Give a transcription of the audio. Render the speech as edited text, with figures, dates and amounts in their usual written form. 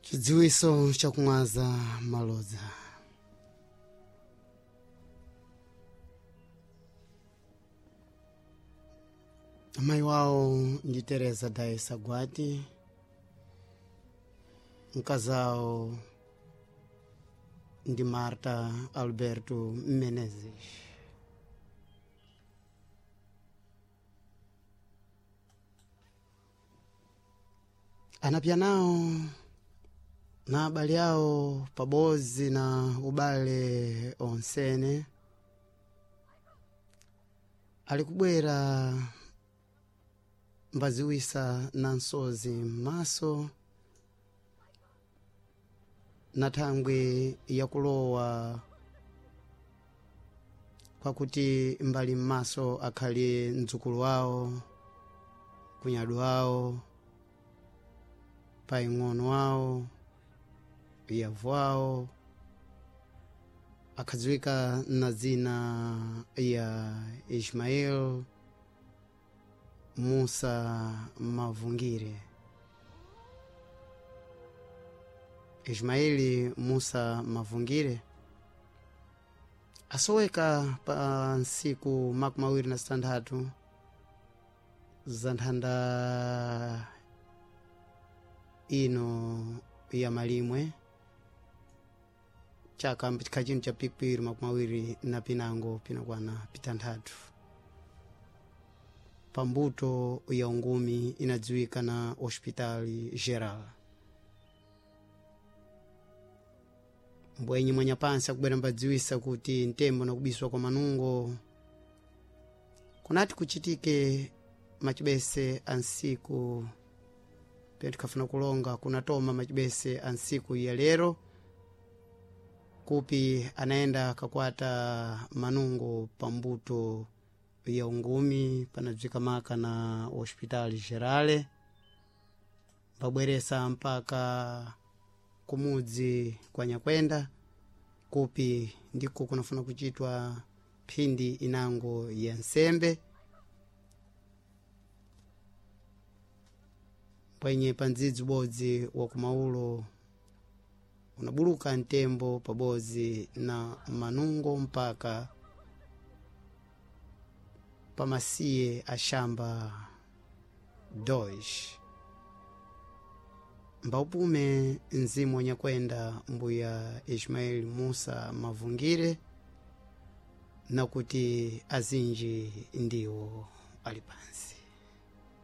Chidziwiso chakumwaza malodza. Amayi wawo ndi Teresa Daisa Gwati, mkazawo ndi Marta Alberto Menezes. Anapya nawo na abale awo pabodzi na ubale onsene ali kubwera mbaziwisa na nsozi m'maso na thangwi yakulowa kwakuti mbali m'maso akhali mdzukulu wawo, kunyadu wawo, paing'ono wawo, yavu wawo, akhadziwika na dzina ya Ismael Musa Mavungire. Ismaili Musa Mavungire asoweka pa ntsiku 26 za nthanda ino ya malimwe chaka chino cha pikipiri 25 pinakwana pitanthatu pambuto ya ungumi inadziwika na Hospital Geral. Mbwenyi mwanyapansi akubwera mbadziwisa kuti ntembo nakubiswa kwa manungo kunati kuchitike machibese a nsiku pye tikhafuna kulonga kunatoma machibese a nsiku ya lero kupi anaenda kakwata manungo pambuto ya ungumi panadziwika maka na Hospital Gerale mbabweresa mpaka kumudzi kwa Nyakwenda kupi ndiko kunafuna kuchitwa phindi inango ya nsembe pwenye pa ndzidzi ubodzi wa kumaulo unabuluka ntembo pabodzi na manungo mpaka pamasiye ashamba Deutsch mbaupume mzimu wanyakwenda mbuya Ismail Musa Mavungire nakuti azinji ndiwo ali pansi.